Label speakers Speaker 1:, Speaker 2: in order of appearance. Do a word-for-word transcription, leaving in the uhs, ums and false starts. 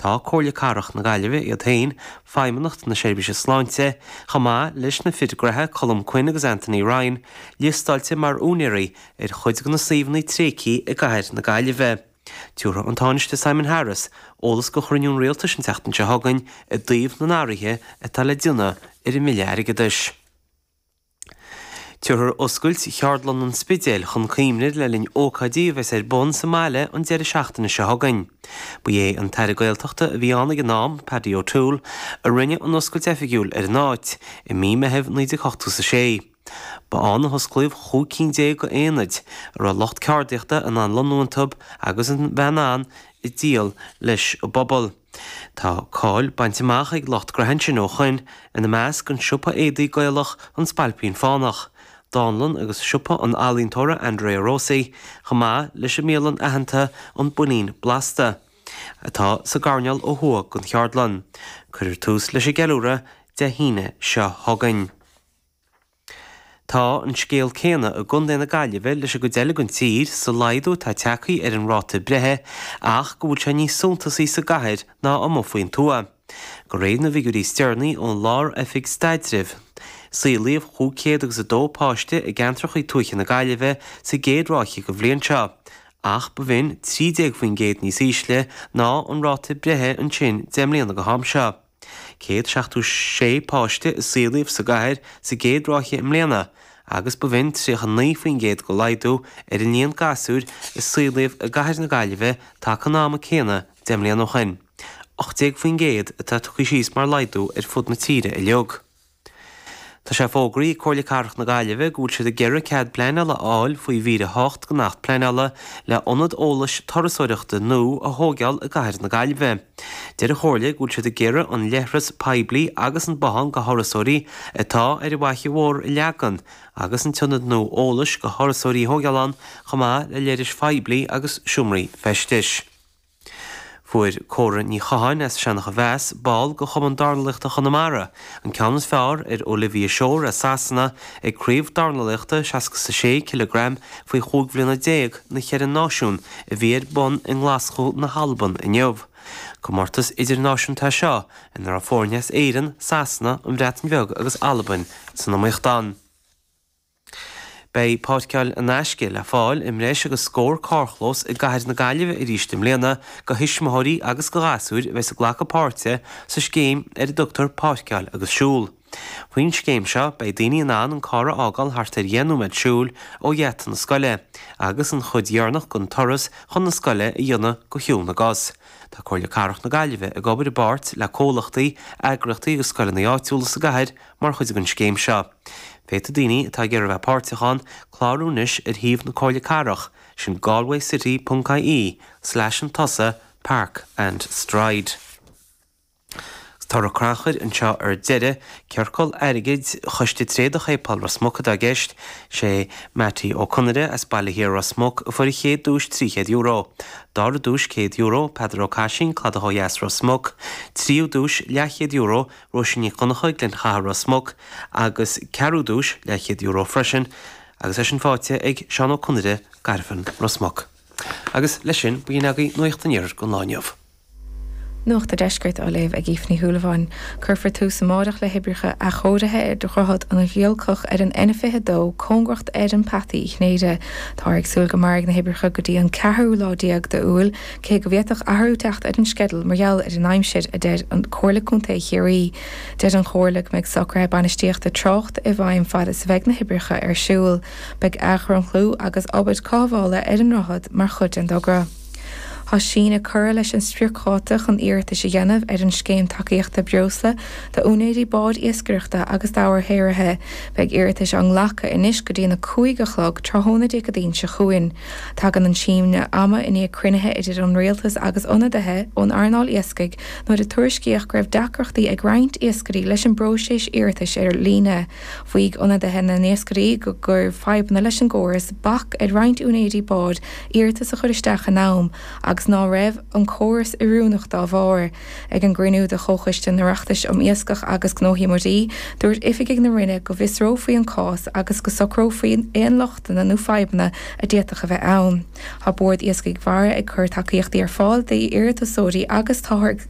Speaker 1: Tá Comhairle Cathrach na Gaillimhe iad féin, Feidhmeannacht na Seirbhíse Sláinte, chomh maith leis na fir graithe Colm Quinn agus Anthony Ryan, liostáilte mar úinéirí ar chuid de na suíomhanna tréigthe i gcathair na Gaillimhe. Tabharfaidh an Tánaiste Simon Harris eolas go chruinniú an rialtais an tseachtain seo chugainn i dtaobh na n-athruithe atá le déanamh ar an mBille Airgeadais. Tabharfar oscailt Cheardlann an Spidéil chun cuimhne le linn ócáidí a bheas ar bun sa mbaile an deireadh seachtaine seo chugainn. Ba é an tAire Gaeltachta a bhí ann ag an am, Paddy O'Toole, a rinne an oscailt oifigiúil ar an áit i mí Meithimh naoi déag ochtó is a sé. Ba ann a hosclaíodh chúig cinn déag d'aonaid a raibh lucht ceardaíochta in ann lonnú iontu agus a bheith in ann ag díol leis an bpobal. Tá cáil bainte amach ag lucht graithe ansin ó shoin, ina measc an siopa éadaí Gaelach An Spailpín Fánach, dánlann agus siopa an ealaíontóra Andrea Rossi, chomh maith leis an mbialann aitheanta An Builín Blasta, atá sa gcoirnéal ó thuaidh den cheardlann. Cuirfear tús leis an gceiliúradh Dé hAoine seo chugainn. Tá an scéal céanna i gContae na Gaillimhe leis an gcuid eile den tír sa laghdú atá tagtha ar an ráta breithe ach go bhfuil sé níos suntasaí sa gcathair ná amuigh faoin tuath. De réir na bhfigiúirí is deireanaí ón Lár-Oifig Staidrimh, saolaíodh chúig chéad agus a dó páiste i gceantracha tuaithe na Gaillimhe sa gcéad ráithe den bhliain seo, ach ba bh'in trí déag faoin gcéad níos ísle ná an ráta breithe ansin deich mbliana go ham seo. céad seachtó sé páiste a saolaíodh sa gcathair sa gcéad ráithe i mbliana agus ba bh'in tríocha naoi faoin gcéad de laghdú ar an líon gasúir a saolaíodh i gcathair na Gaillimhe taca an ama céanna deich mbliana ó shin. ocht déag faoin gcéad atá tugtha síos mar laghdú ar fud na tíre uilig. Tá sé fógraithe ag Comhairle Cathrach na Gaillimhe go bhfuil siad ag iarraidh cead pleanála a fháil faoi mhír a hocht den Acht Pleanála le ionad eolais turasóireachta nua a thógáil i gcathair na Gaillimhe. Deir an Chomhairle go bhfuil siad ag iarraidh an leithreas poiblí agus an bothán do thurasóirí atá ar an bhFaiche Mhór a leagan agus an t-ionad nua eolais do thurasóirí a thógáil ann chomh maith le leithris phoiblí agus seomraí feistis. Fuair Córa Ní Chatháin as Seancha Mheas, ball de Chumann Dornálaíochta Chonamara, an ceann is fearr ar Olivia Shore as Sasana ag Craobh Dornálaíochta seasca is a sé cileagram faoi chúig bhliana déag na Cheithre Náisiún a bhí ar bun i nGlaschú na hAlban inniu. Comórtas idirnáisiúnta é seo ina raibh foirne as Éirinn, Sasana, an Bhreatain Bheag agus Albain san iomaíocht ann. Beidh páirceáil in aisce le fáil i mbreis agus scór carrchlós i gcathair na Gaillimhe arís i mbliana do thuismitheoirí agus do ghasúir a bheas ag glacadh páirte sa scéim ar a dtugtar Páirceáil agus Siúl. Faoin scéim seo beidh daoine in ann an carr a fhágáil thart ar dheich nóiméad siúil ó gheata na scoile agus an chuid dheireanach den turas chun na scoile a dhéanamh go shiúl na gcos. Tá Comhairle Cathrach na Gaillimhe ag obair i bpáirt le comhlachtaí, eagraíochtaí agus scoileanna áitiúla sa gcathair mar chuid den scéim seo. Féadfaidh daoine atá ag iarraidh a bheith páirteach ann clárú anois ar shuíomh na Comhairle Cathrach, sin galwaycity ponc ie slash an tusa park and stride. Toradh crannchuir anseo ar deireadh, ciorcal airgid Choiste Tréadach Shéipéal Ros Muc atá i gceist, sé Mattie Ó Conaire as Baile Thiar Ros Muc a fuair an chéad duais trí chéad euro. Dara duais céad euro, Peadar Ó Caisín, Cladach ó Dheas Ros Muc, tríú duais leathchéad euro, Róisín Nic Dhonncha, Gleann Chatha Ros Muc, agus ceathrú duais leathchéad euro freisin, agus é sin faighte ag Seán Ó Conaire, Garbhan Ros Muc. Agus leis sin, b'in agaibh Nuacht an Iarthair don lá inniu.
Speaker 2: Nuacht an Deiscirt á léamh ag Aoife Ní Shúilleabháin. Cuirfear tús amárach le hoibreacha athchóirithe ar Dhroichead an Ghiolcach ar an N fiche dó, cóngarach d'Fheirm Peataí Uí Chinnéide. Táthar ag súil go mairfidh na hoibreacha go dtí an ceathrú lá déag d'Iúil, cé go bhféadfadh athrú teacht ar an sceideal mar gheall ar an aimsir, a deir an Comhairle Contae Chiarraí. Deir an Chomhairle go mbeidh socruithe bainistíochta tráchta i bhfeidhm fad is a bheidh na hoibreacha ar siúl. Beidh athdhromchlú agus obair cothabhála ar an ndroichead mar chuid den dtogra. Tá síneadh curtha leis an spriocdháta chun iarratais a dhéanamh ar an scéim tacaíochta breosla d'úinéirí báid iascaireachta agus dobharshaothraithe. Beidh iarratais á nglacadh anois go dtí an a cúig a chlog tráthnóna Dé Céadaoin seo chugainn. Tagann an síneadh ama i ndiaidh cruinnithe idir an rialtas agus ionadaithe ón earnáil iascaigh nuair a tuairiscíodh go raibh deacrachtaí ag roinnt iascairí leis an bpróiseas iarratais ar líne. Mhaígh ionadaithe na n-iascairí go gcuir fadhbanna leis an gcóras bac ar roinnt úinéirí bád iarratas a chur isteach in am agus ná raibh an córas oiriúnach dá bharr. Ag an gcruinniú de Chomhchoiste an Oireachtais um Iascach agus Gnóthaí Muirí, dúirt oifigigh na Roinne go bhfiosrófaí an cás agus go socrófaí aon lochtanna nó fadhbanna a d'fhéadfadh a bheith ann. Tá Bord Iascaigh Mhara ag cur tacaíochtaí ar fáil d'iarratasóirí agus táthar ag